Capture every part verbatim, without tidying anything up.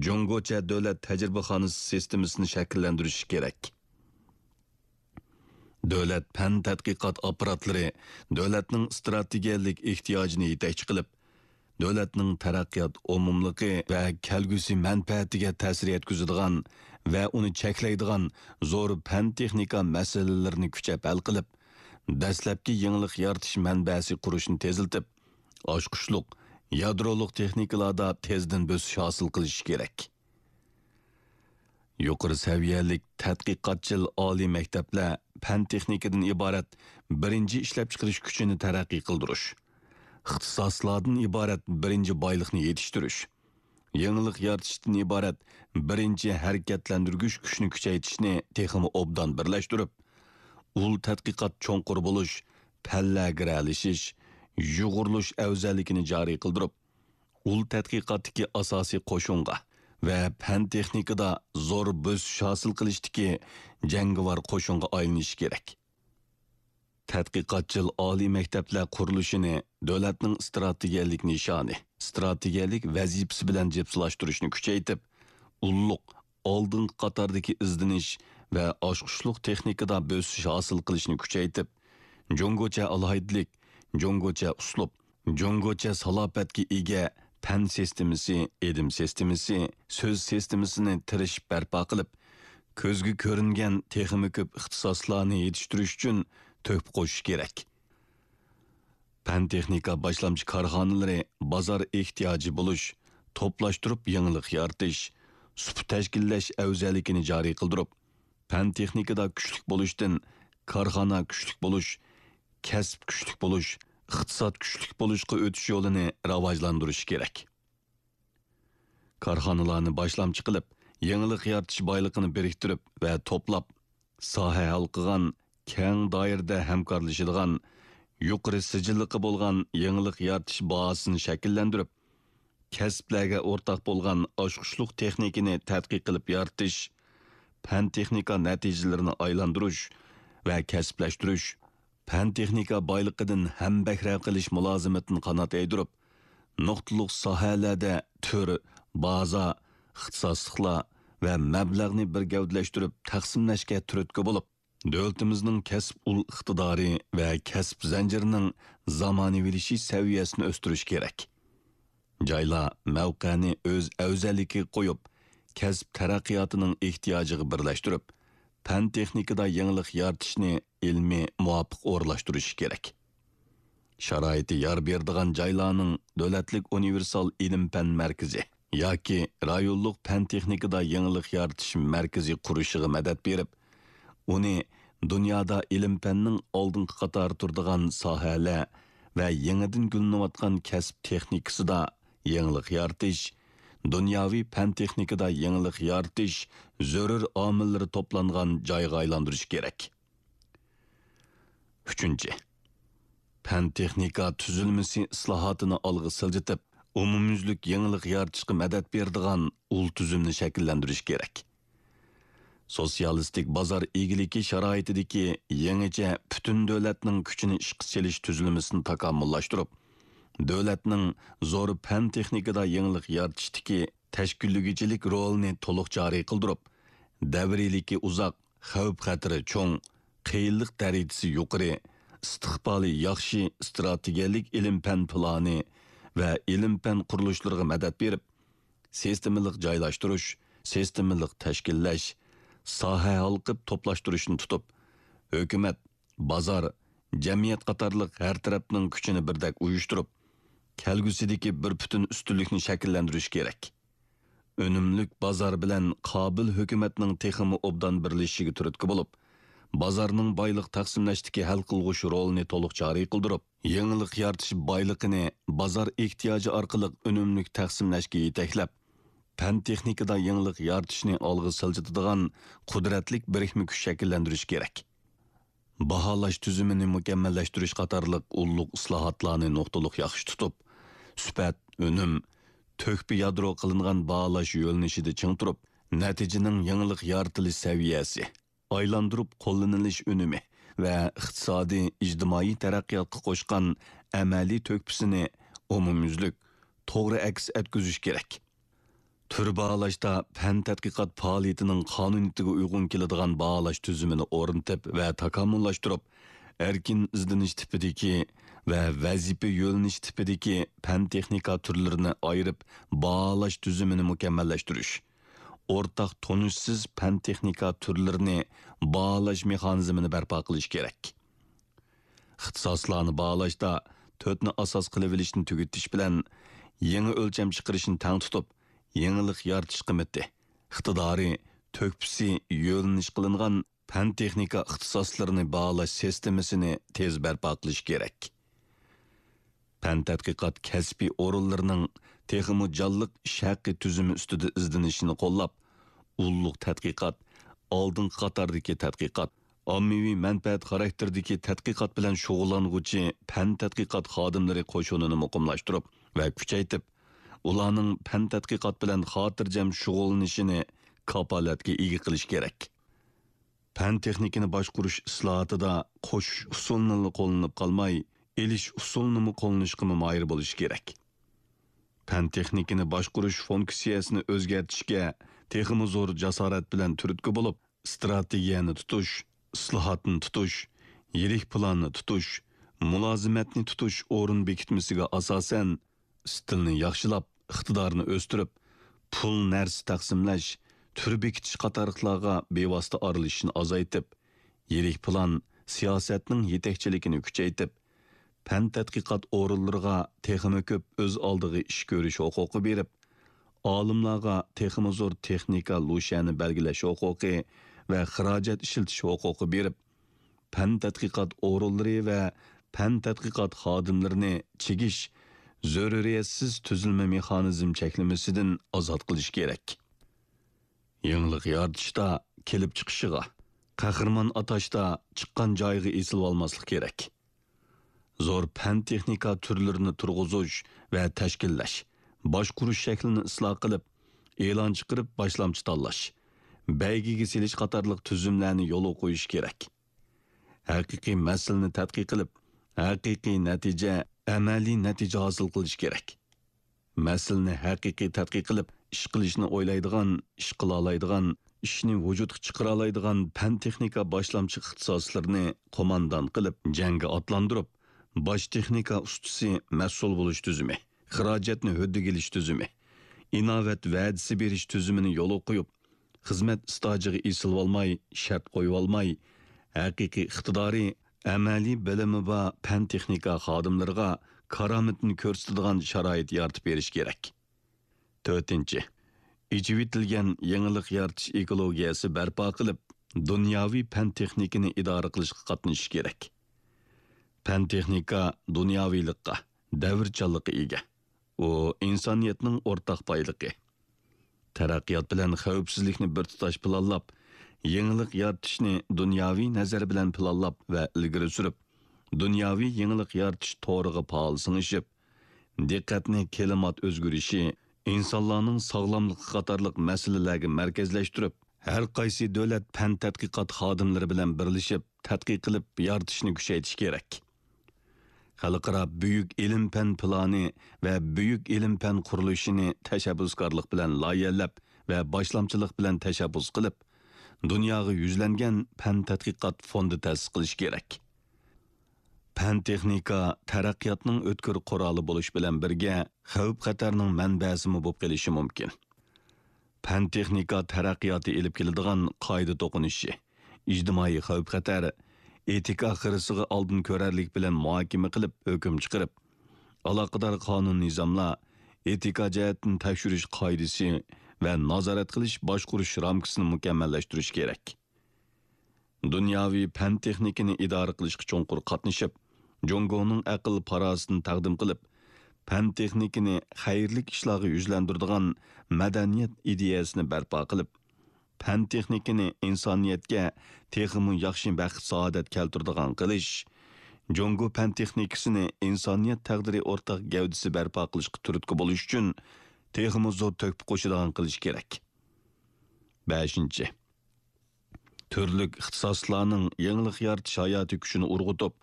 جۇڭگوچە دۆلەت تەجرىبىخانىسى سىستېمىسىنى شەكىللەندۈرۈشى كېرەك. دۆلەت پەن تەتقىقات ئاپپاراتلىرى دۆلەتنىڭ ئىستراتېگىيەلىك ئېھتىياجىنى يېتەكچى قىلىپ، دۆلەتنىڭ تەرەققىيات ئومۇملۇقى ۋە كەلگۈسى مەنپەئەتىگە تەسىر يەتكۈزىدىغان ۋە ئۇنى چەكلەيدىغان زور پەن-تېخنىكا مەسىلىلىرىنى كۈچەپ ھەل قىلىپ، دەسلەپكى يېڭىلىق يارىتىش مەنبەسى قۇرۇشنى تېزلىتىپ، ئاچقۇچلۇق، يادرولۇق تېخنىكىلاردا تېزدىن بۆسۈش ھاسىل قىلىشى كېرەك. يۇقىرى سەۋىيەلىك تەتقىقاتچىل ئالىي مەكتەپلەر پەن-تېخنىكىدىن ئىبارەت بىرىنچى ئىشلەپچىقىرىش كۈچىنى تەرەققىي قىلدۇرۇش، ئىختىساسلاردىن ئىبارەت بىرىنچى بايلىقنى يېتىشتۈرۈش، يېڭىلىق يارىتىشتىن ئىبارەت بىرىنچى ھەرىكەتلەندۈرگۈچ كۈچنى كۈچەيتىشنى تېخىمۇ ئوبدان بىرلەشتۈرۈپ، ئۇل تەتقىقات چوڭقۇر بولۇش، پەنلەر گىرەلىشىش، يۇغۇرۇلۇش ئەۋزەللىكىنى جارى قىلدۇرۇپ، ئۇل تەتقىقاتتىكى ئاساسىي قوشۇنغا ۋە پەن-تېخنىكىدا زور بۆسۈش ھاسىل قىلىشتىكى جەڭگىۋار قوشۇنغا ئايلىنىشى كېرەك. تەتقىقاتچىل ئالىي مەكتەپلەر قۇرۇلۇشىنى دۆلەتنىڭ ئىستراتېگىيەلىك نىشانى، ئىستراتېگىيەلىك ۋەزىپىسى بىلەن جىپسىلاشتۇرۇشنى كۈچەيتىپ، ئۇللۇق، ئالدىنقى قاتاردىكى ئىزدىنىش ۋە ئاچقۇچلۇق تېخنىكىدا بۆسۈش ھاسىل قىلىشنى كۈچەيتىپ، جۇڭگوچە ئالاھىدىلىك، جۇڭگوچە ئۇسلۇب، جۇڭگوچە سالاپەتكە ئىگە پەن سىستېمىسى، ئىلىم سىستېمىسى، سۆز سىستېمىسىنى تىرىشىپ بەرپا قىلىپ، كۆزگە كۆرۈنگەن تېخىمۇ كۆپ ئىختىساسلارنى يېتىشتۈرۈش ئۈچۈن تۆھپە قوشۇش كېرەك. پەن-تېخنىكا باشلامچى كارخانىلىرى بازار ئېھتىياجى بولۇش، توپلاشتۇرۇپ يېڭىلىق يارىتىش، سۇپا تەشكىللەش ئەۋزەللىكىنى جارى قىلدۇرۇپ، پەن-تېخنىكىدا كۈچلۈك بولۇشتىن كارخانا كۈچلۈك بولۇش، كەسىپ كۈچلۈك بولۇش، ئىقتىساد كۈچلۈك بولۇشقا ئۆتۈش يولىنى راۋاجلاندۇرۇشى كېرەك. كارخانىلارنى باشلامچى قىلىپ، يېڭىلىق يارىتىش بايلىقىنى بىرىكتۈرۈپ ۋە توپلاپ، ساھە ھالقىغان، كەڭ دائىرىدە ھەمكارلىشىدىغان، يۇقىرى سىجىللىقى بولغان يېڭىلىق يارىتىش بازىسىنى شەكىللەندۈرۈپ، كەسىپلەرگە ئورتاق بولغان ئاچقۇچلۇق تېخنىكىنى تەتقىق قىلىپ يارىتىش، پەن-تېخنىكا نەتىجىلىرىنى ئايلاندۇرۇش ۋە كەسىپلەشتۈرۈش، پەن-تېخنىكا بايلىقىدىن ھەمبەھرە قىلىش مۇلازىمىتىنى قانات يايدۇرۇپ، نۇقتىلىق ساھەلەردە تۈر، بازا، ئىختىساسلىقلار ۋە مەبلەغنى بىر گەۋدىلەشتۈرۈپ تەقسىملەشكە تۈرتكە بولۇپ، دۆلىتىمىزنىڭ كەسىپ ئۇل ئىقتىدارى ۋە كەسىپ زەنجىرىنىڭ زامانىۋىلىشىش سەۋىيەسىنى ئۆستۈرۈش كېرەك. جايلار مەۋقەنى ئۆز ئەۋزەللىكىگە قويۇپ، كەسىپ تەرەققىياتىنىڭ ئېھتىياجىغا بىرلەشتۈرۈپ، پەن-تېخنىكىدا يېڭىلىق يارىتىشنى ئىلمىي مۇۋاپىق ئورۇنلاشتۇرۇشى كېرەك. شارائىتى يار بېرىدىغان جايلارنىڭ دۆلەتلىك ئۇنىۋېرسال ئىلىم-پەن مەركىزى ياكى رايونلۇق پەن-تېخنىكىدا يېڭىلىق يارىتىش مەركىزى قۇرۇشىغا مەدەت بېرىپ، ئۇنى دۇنيادا ئىلىم-پەننىڭ ئالدىنقى قاتاردا تۇرىدىغان ساھەلەر ۋە يېڭىدىن گۈللىنىۋاتقان كەسىپ تېخنىكىسىدا يېڭىلىق يارىتىش، دۇنياۋى پەن-تېخنىكىدا يېڭىلىق يارىتىش زۆرۈر ئامىللىرى توپلانغان جايغا ئايلاندۇرۇش كېرەك. ئۈچىنچى، پەن-تېخنىكا تۈزۈلمىسى ئىسلاھاتىنى ئالغا سىلجىتىپ، ئومۇميۈزلۈك يېڭىلىق يارىتىشقا مەدەت بېرىدىغان ئۇل تۈزۈمنى شەكىللەندۈرۈش كېرەك. سوتسىيالىستىك بازار ئىگىلىكى شارائىتىدىكى يېڭىچە پۈتۈن دۆلەتنىڭ كۈچىنى ئىشقا سېلىش تۈزۈلمىسىنى تاكامۇللاشتۇرۇپ، دۆلەتنىڭ زور پەن-تېخنىكىدا يېڭىلىق يارىتىشتىكى تەشكىللىگۈچىلىك رولىنى تولۇق جارى قىلدۇرۇپ، دەۋرىيلىكى ئۇزاق، خەۋپ-خەتىرى چوڭ، قىيىنلىق دەرىجىسى يۇقىرى، ئىستىقبالى ياخشى ئىستراتېگىيەلىك ئىلىم-پەن پىلانى ۋە ئىلىم-پەن قۇرۇلۇشلىرىغا مەدەت بېرىپ، سىستېمىلىق جايلاشتۇرۇش، سىستېمىلىق تەشكىللەش، ساھە ھالقىپ توپلاشتۇرۇشنى تۇتۇپ، ھۆكۈمەت، بازار، جەمئىيەت قاتارلىق ھەر تەرەپنىڭ كۈچىنى بىردەك ئۇيۇشتۇرۇپ، كەلگۈسىدىكى بىر پۈتۈن ئۈستۈنلۈكنى شەكىللەندۈرۈش كېرەك. ئۈنۈملۈك بازار بىلەن قابىل ھۆكۈمەتنىڭ تېخىمۇ ئوبدان بىرلىشىشىگە تۈرتكە بولۇپ، بازارنىڭ بايلىق تەقسىملەشتىكى ھەل قىلغۇچ رولىنى تولۇق جارى قىلدۇرۇپ، يېڭىلىق يارىتىش بايلىقىنى بازار ئېھتىياجى ئارقىلىق ئۈنۈملۈك تەقسىملەشكە يېتەكلەپ، پەن-تېخنىكىدا يېڭىلىق يارىتىشنى ئالغا سىلجىتىدىغان قۇدرەتلىك بىرىكمە كۈچ شەكىللەندۈرۈش كېرەك. باھالاش تۈزۈمىنى مۇكەممەللەشتۈرۈش قاتارلىق ئۇللۇق ئىسلاھاتلارنى نۇقتىلىق ياخشى تۇتۇپ، سۈپەت، ئۈنۈم، تۆھپە يادرو قىلىنغان باھالاش يۆنىلىشىدە چىڭ تۇرۇپ، نەتىجىنىڭ يېڭىلىق يارىتىلىش سەۋىيەسى، ئايلاندۇرۇپ قوللىنىلىش ئۈنۈمى ۋە ئىقتىسادىي، ئىجتىمائىي تەرەققىياتقا قوشقان ئەمەلىي تۆھپىسىنى ئومۇميۈزلۈك، توغرا ئەكس ئەتكۈزۈش كېرەك. تۈر باھالاشتا پەن تەتقىقات پائالىيىتىنىڭ قانۇنىيىتىگە ئۇيغۇن كېلىدىغان باھالاش تۈزۈمىنى ئورنىتىپ ۋە تاكامۇللاشتۇرۇپ، ئەركىن ئىزدىنىش تىپىدىكى ۋە ۋەزىپە يۆنىلىش تىپىدىكى پەن تېخنىكا تۈرلىرىنى ئايرىپ باھالاش تۈزۈمىنى مۇكەممەللەشتۈرۈش، ئورتاق تونۇشسىز پەن تېخنىكا تۈرلىرىنى باھالاش مېخانىزمىنى بەرپا قىلىش كېرەك. ئىختىساسلارنى باھالاشتا تۆتنى ئاساس قىلىۋېلىشنى تۈگىتىش بىلەن يېڭى ئۆلچەم چىقىرىشنى تەڭ تۇتۇپ، يېڭىلىق يارىتىش قىممىتى، ئىقتىدارى، تۆھپىسى يۆنىلىش قىلىنغان پەن-تېخنىكا ئىختىساسلىرىنى باھالاش سىستېمىسىنى تېز بەرپا قىلىش كېرەك. پەن-تەتقىقات كەسپىي ئورۇنلىرىنىڭ تېخىمۇ جانلىق ئىش ھەققى تۈزۈمى ئۈستىدە ئىزدىنىشىنى قوللاپ، ئۇللۇق تەتقىقات، ئالدىنقى قاتاردىكى تەتقىقات، ئاممىۋى مەنپەئەت خاراكتېرىدىكى تەتقىقات بىلەن شۇغۇللانغۇچى پەن-تەتقىقات خادىملىرى قوشۇنىنى مۇقىملاشتۇرۇپ ۋە كۈچەيتىپ، ئۇلارنىڭ پەن-تەتقىقات بىلەن خاتىرجەم شۇغۇللىنىشىنى كاپالەتكە ئىگە قىلىش كېرەك. پەن-تېخنىكىنى باشقۇرۇش ئىسلاھاتىدا قوشۇش ئۇسۇلىنىلا قوللىنىپ قالماي، ئېلىش ئۇسۇلىنىمۇ قوللىنىشقىمۇ ماھىر بولۇش كېرەك. پەن-تېخنىكىنى باشقۇرۇش فۇنكسىيەسىنى ئۆزگەرتىشكە تېخىمۇ زور جاسارەت بىلەن تۈرتكە بولۇپ، ئىستراتېگىيەنى تۇتۇش، ئىسلاھاتنى تۇتۇش، يىرىك پىلاننى تۇتۇش، مۇلازىمەتنى تۇتۇش ئورۇن بېكىتمىسىگە ئاساسەن، ئىستىلنى ياخشىلاپ، ئىقتىدارنى ئۆستۈرۈپ، پۇل، نەرسە تەقسىملەش، تۈر بېكىتىش قاتارلىقلارغا بىۋاسىتە ئارىلىشىشنى ئازايتىپ، يىرىك پىلان، سىياسەتنىڭ يېتەكچىلىكىنى كۈچەيتىپ، پەن-تەتقىقات ئورۇنلىرىغا تېخىمۇ كۆپ ئۆز ئالدىغا ئىش كۆرۈش ھوقۇقى بېرىپ، ئالىملارغا تېخىمۇ زور تېخنىكا لۇشيەنى بەلگىلەش ھوقۇقى ۋە خىراجەت ئىشلىتىش ھوقۇقى بېرىپ، پەن-تەتقىقات ئورۇنلىرى ۋە پەن-تەتقىقات خادىملىرىنى چىگىش، زۆرۈرىيەتسىز تۈزۈلمە مېخانىزم چەكلىمىسىدىن ئازاد قىلىش كېرەك. يېڭىلىق يارىتىشتا كېلىپ چىقىشىغا، قەھرىمان ئاتاشتا چىققان جايىغا ئېسىلىۋالماسلىق كېرەك. زور پەن-تېخنىكا تۈرلىرىنى تۇرغۇزۇش ۋە تەشكىللەش، باشقۇرۇش شەكلىنى ئىسلاھ قىلىپ، ئېلان چىقىرىپ باشلامچى تاللاش، بەيگىگە سېلىش قاتارلىق تۈزۈملەرنى يولغا قويۇش كېرەك. ھەقىقىي مەسىلىنى تەتقىق قىلىپ، ھەقىقىي نەتىجە، ئەمەلىي نەتىجە ھاسىل قىلىش كېرەك. مەسىلىنى ھەقىقىي تەتقىق قىلىپ، ئىش قىلىشنى ئويلايدىغان، ئىش قىلالايدىغان، ئىشنى ۋۇجۇدقا چىقىرالايدىغان پەن-تېخنىكا باشلامچى ئىختىساسلىرىنى قوماندان قىلىپ، جەڭگە ئاتلاندۇرۇپ، باش تېخنىكا ئۇستىسى مەسئۇل بولۇش تۈزۈمى، خىراجەتنى ھۆددىگە ئېلىش تۈزۈمى، ئىناۋەت ۋەدىسى بېرىش تۈزۈمىنى يولغا قويۇپ، خىزمەت ئىستاژىغا ئېسىلىۋالماي، شەرت قويۇۋالماي، ھەقىقىي ئىقتىدارى، ئەمەلىي بىلىمى بار پەن-تېخنىكا خادىملىرىغا كارامىتىنى كۆرسىتىدىغان شارائىت يارىتىپ بېرىش كېرەك. تۆتىنچى، ئېچىۋېتىلگەن يېڭىلىق يارىتىش ئېكولوگىيەسى بەرپا قىلىپ، دۇنياۋى پەن-تېخنىكىنى ئىدارە قىلىشقا قاتنىشىش كېرەك. پەن-تېخنىكا دۇنياۋىلىققا، دەۋرچانلىققا ئىگە. ئۇ ئىنسانىيەتنىڭ ئورتاق بايلىقى. تەرەققىيات بىلەن خەۋپسىزلىكنى بىر تۇتاش پىلانلاپ، يېڭىلىق يارىتىشنى دۇنياۋى نەزەر بىلەن پىلانلاپ ۋە ئىلگىرى سۈرۈپ، دۇنياۋى يېڭىلىق يارىتىش تورىغا پائال سىڭىشىپ، دىققەتنى كىلىمات ئۆزگىرىشى، ئىنسانلارنىڭ ساغلاملىقى قاتارلىق مەسىلىلەرگە مەركەزلەشتۈرۈپ، ھەر قايسى دۆلەت پەن تەتقىقات خادىملىرى بىلەن بىرلىشىپ تەتقىق قىلىپ يارىتىشنى كۈچەيتىش كېرەك. خەلقئارا بۈيۈك ئىلىم-پەن پىلانى ۋە بۈيۈك ئىلىم-پەن قۇرۇلۇشىنى تەشەببۇسكارلىق بىلەن لايىھەلەپ ۋە باشلامچىلىق بىلەن تەشەببۇس قىلىپ، دۇنياغا يۈزلەنگەن پەن تەتقىقات فوندى تەسىس قىلىش كېرەك. پەن-تېخنىكا تەرەققىياتنىڭ ئۆتكۈر قورالى بولۇش بىلەن بىرگە، خەۋپ-خەتەرنىڭ مەنبەسىمۇ بولۇپ قېلىشى مۇمكىن. پەن-تېخنىكا تەرەققىياتى ئېلىپ كېلىدىغان قائىدە توقۇنۇشى، ئىجتىمائىي خەۋپ-خەتەر، ئېتىكا خىرىسىغا ئالدىن كۆرەرلىك بىلەن مۇھاكىمە قىلىپ، ھۆكۈم چىقىرىپ، ئالاقىدار قانۇن-نىزاملار، ئېتىكا جەھەتتىن تەكشۈرۈش قائىدىسى ۋە نازارەت قىلىش باشقۇرۇش رامكىسىنى مۇكەممەللەشتۈرۈش كېرەك. دۇنياۋى پەن-تېخنىكىنى ئىدارە قىلىشقا چوڭقۇر قاتنىشىپ، جۇڭگونىڭ ئەقىل-پاراسىتىنى تەقدىم قىلىپ، پەن-تېخنىكىنى خەيرلىك ئىشلارغا يۈزلەندۈرىدىغان مەدەنىيەت ئىدىيەسىنى بەرپا قىلىپ، پەن-تېخنىكىنى ئىنسانىيەتكە تېخىمۇ ياخشى بەخت-سائادەت كەلتۈرىدىغان قىلىش، جۇڭگو پەن-تېخنىكىسىنى ئىنسانىيەت تەقدىرى ئورتاق گەۋدىسى بەرپا قىلىشقا تۈرتكە بولۇش ئۈچۈن تېخىمۇ زور تۆھپە قوشىدىغان قىلىش كېرەك. بەشىنچى، تۈرلۈك ئىختىساسلارنىڭ يېڭىلىق يارىتىش ھاياتىي كۈچىنى ئۇرغۇتۇپ،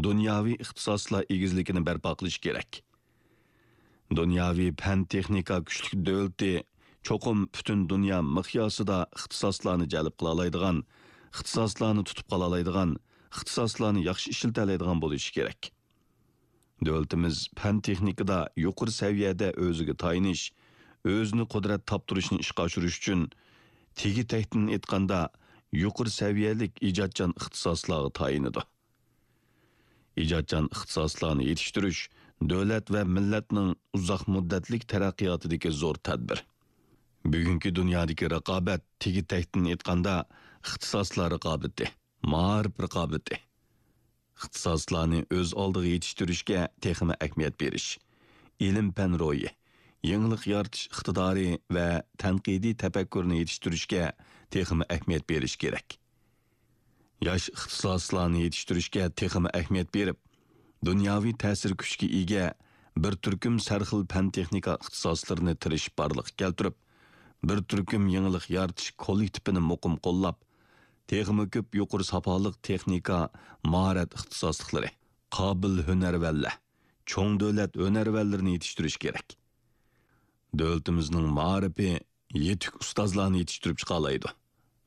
دۇنياۋى ئىختىساسلار ئېگىزلىكىنى بەرپا قىلىش كېرەك. دۇنياۋى پەن-تېخنىكا كۈچلۈك دۆلىتى چوقۇم پۈتۈن دۇنيا مىقياسىدا ئىختىساسلارنى جەلپ قىلالايدىغان، ئىختىساسلارنى تۇتۇپ قالالايدىغان، ئىختىساسلارنى ياخشى ئىشلىتەلەيدىغان بولۇشى كېرەك. دۆلىتىمىز پەن-تېخنىكىدا يۇقىرى سەۋىيەدە ئۆزىگە تايىنىش، ئۆزىنى قۇدرەت تاپتۇرۇشنى ئىشقا ئاشۇرۇش ئۈچۈن، تېگى-تەكتىن ئېيتقاندا، يۇقىرى سەۋىيەلىك ئىجادچان ئىختىساسلارغا تايىنىدۇ. ئىجادچان ئىختىساسلارنى يېتىشتۈرۈش دۆلەت ۋە مىللەتنىڭ ئۇزاق مۇددەتلىك تەرەققىياتىدىكى زور تەدبىر. بۈگۈنكى دۇنيادىكى رىقابەت، تېگى-تەكتىن ئېيتقاندا، ئىختىساسلار رىقابىتى، مائارىپ رىقابىتى. ئىختىساسلارنى ئۆز ئالدىغا يېتىشتۈرۈشكە تېخىمۇ ئەھمىيەت بېرىش، ئىلىم-پەن روھى، يېڭىلىق يارىتىش ئىقتىدارى ۋە تەنقىدىي تەپەككۇرنى يېتىشتۈرۈشكە تېخىمۇ ئەھمىيەت بېرىش كېرەك. ياش ئىختىساسلارنى يېتىشتۈرۈشكە تېخىمۇ ئەھمىيەت بېرىپ، دۇنياۋى تەسىر كۈچكە ئىگە بىر تۈركۈم سەرخىل پەن-تېخنىكا ئىختىساسلىرىنى تىرىشىپ بارلىققا كەلتۈرۈپ، بىر تۈركۈم يېڭىلىق يارىتىش كوللېكتىپىنى مۇقىم قوللاپ، تېخىمۇ كۆپ يۇقىرى ساپالىق تېخنىكا، ماھارەت ئىختىساسلىقلىرى، قابىل ھۈنەرۋەنلەر، چوڭ دۆلەت ھۈنەرۋەنلىرىنى يېتىشتۈرۈش كېرەك. دۆلىتىمىزنىڭ مائارىپى يېتىك ئۇستازلارنى يېتىشتۈرۈپ چىقالايدۇ.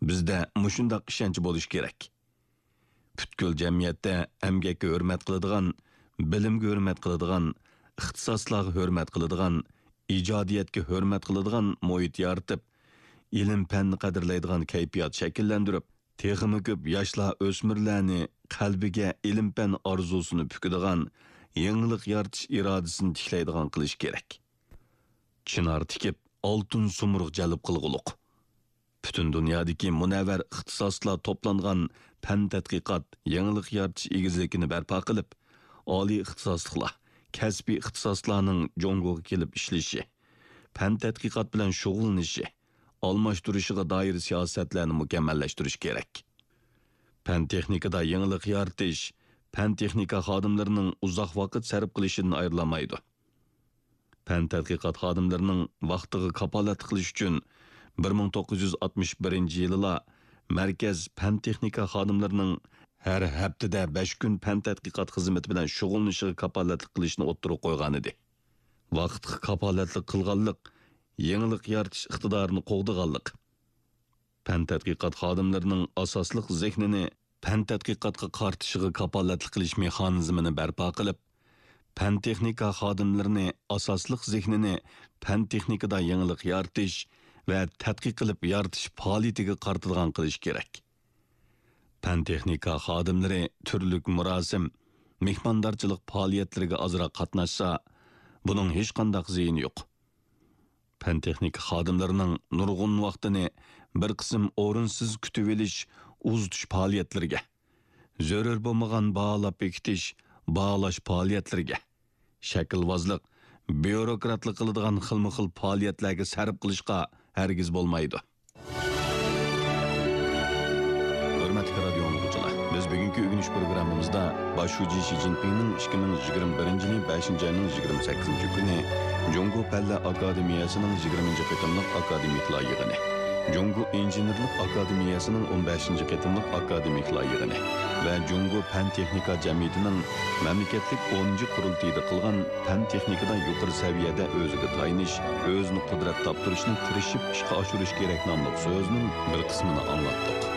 بىزدە مۇشۇنداق ئىشەنچ بولۇشى كېرەك. پۈتكۈل جەمئىيەتتە ئەمگەككە ھۆرمەت قىلىدىغان، بىلىمگە ھۆرمەت قىلىدىغان، ئىختىساسلارغا ھۆرمەت قىلىدىغان، ئىجادىيەتكە ھۆرمەت قىلىدىغان مۇھىت يارىتىپ، ئىلىم-پەننى قەدىرلەيدىغان كەيپىيات شەكىللەندۈرۈپ، تېخىمۇ كۆپ ياشلار، ئۆسمۈرلەرنى قەلبىگە ئىلىم-پەن ئارزۇسىنى پۈكىدىغان، يېڭىلىق يارىتىش ئىرادىسىنى تىكلەيدىغان قىلىش كېرەك. چىنار تىكىپ، ئالتۇن سۇمۇرغ جەلپ قىلغۇلۇق. پۈتۈن دۇنيادىكى مۇنەۋۋەر ئىختىساسلار توپلانغان پەن تەتقىقات، يېڭىلىق يارىتىش ئېگىزلىكىنى بەرپا قىلىپ، ئالىي ئىختىساسلىقلار، كەسپىي ئىختىساسلارنىڭ جۇڭگوغا كېلىپ ئىشلىشى، پەن تەتقىقات بىلەن شۇغۇللىنىشى، ئالماشتۇرۇشىغا دائىر سىياسەتلەرنى مۇكەممەللەشتۈرۈش كېرەك. پەن-تېخنىكىدا يېڭىلىق يارىتىش، پەن-تېخنىكا خادىملىرىنىڭ ئۇزاق ۋاقىت سەرپ قىلىشىدىن ئايرىلالمايدۇ. پەن-تەتقىقات خادىملىرىنىڭ ۋاقتىغا كاپالەتلىك قىلىش ئۈچۈن بىر مىڭ توققۇز يۈز ئاتمىش بىرىنچى يىلىلا مەركەز پەن-تېخنىكا خادىملىرىنىڭ ھەر ھەپتىدە بەش كۈن پەن-تەتقىقات خىزمىتى بىلەن شۇغۇللىنىشىغا كاپالەتلىك قىلىشنى ئوتتۇرىغا قويغانىدى. ۋاقىتقا كاپالەتلىك قىلغانلىق يېڭىلىق يارىتىش ئىقتىدارىنى قوغدىغانلىق. پەن-تەتقىقات خادىملىرىنىڭ ئاساسلىق زېھنىنى پەن-تەتقىقاتقا قارىتىشىغا كاپالەتلىك قىلىش مېخانىزمىنى بەرپا قىلىپ، پەن-تېخنىكا خادىملىرىنى ئاساسلىق زېھنىنى پەن-تېخنىكىدا يېڭىلىق يارىتىش ۋە تەتقىق قىلىپ يارىتىش پائالىيىتىگە قارىتىدىغان قىلىش كېرەك. پەن-تېخنىكا خادىملىرى تۈرلۈك مۇراسىم، مېھماندارچىلىق پائالىيەتلىرىگە ئازراق قاتناشسا، بۇنىڭ ھېچقانداق زىيىنى يوق. پەن-تېخنىكا خادىملىرىنىڭ نۇرغۇن ۋاقتىنى بىر قىسىم ئورۇنسىز كۈتۈۋېلىش، ئۇزىتىش پائالىيەتلىرىگە، زۆرۈر بولمىغان باھالاپ بېكىتىش، باھالاش پائالىيەتلىرىگە، شەكىلۋازلىق، بيۇروكراتلىق قىلىدىغان خىلمۇ خىل پائالىيەتلەرگە سەرپ قىلىشقا ھەرگىز بولمايدۇ. ھۆرمەتلىك رادىيو ئاڭلىغۇچىلار، بىز بۈگۈنكى ئۆگىنىش پروگراممىمىزدا باش شۇجى شى جىنپىڭنىڭ ئىككى مىڭ يىگىرمە بىرىنچى يىلى بەشىنچى ئاينىڭ يىگىرمە سەككىزىنچى كۈنى جۇڭگو پەنلەر ئاكادېمىيەسىنىڭ يىگىرمىنچى قېتىملىق ئاكادېمىكلار يىغىنى، جۇڭگو ئىنژېنېرلىق ئاكادېمىيەسىنىڭ ئون بەشىنچى قېتىملىق ئاكادېمىكلار يىغىنى ۋە جۇڭگو پەن-تېخنىكا جەمئىيىتىنىڭ مەملىكەتلىك ئونىنچى قۇرۇلتىيىدا قىلغان پەن-تېخنىكىدا يۇقىرى سەۋىيەدە ئۆزىگە تايىنىش، ئۆزىنى قۇدرەت تاپتۇرۇشنى تىرىشىپ ئىشقا ئاشۇرۇش كېرەك ناملىق سۆزنىڭ بىر قىسمىنى ئاڭلاتتۇق.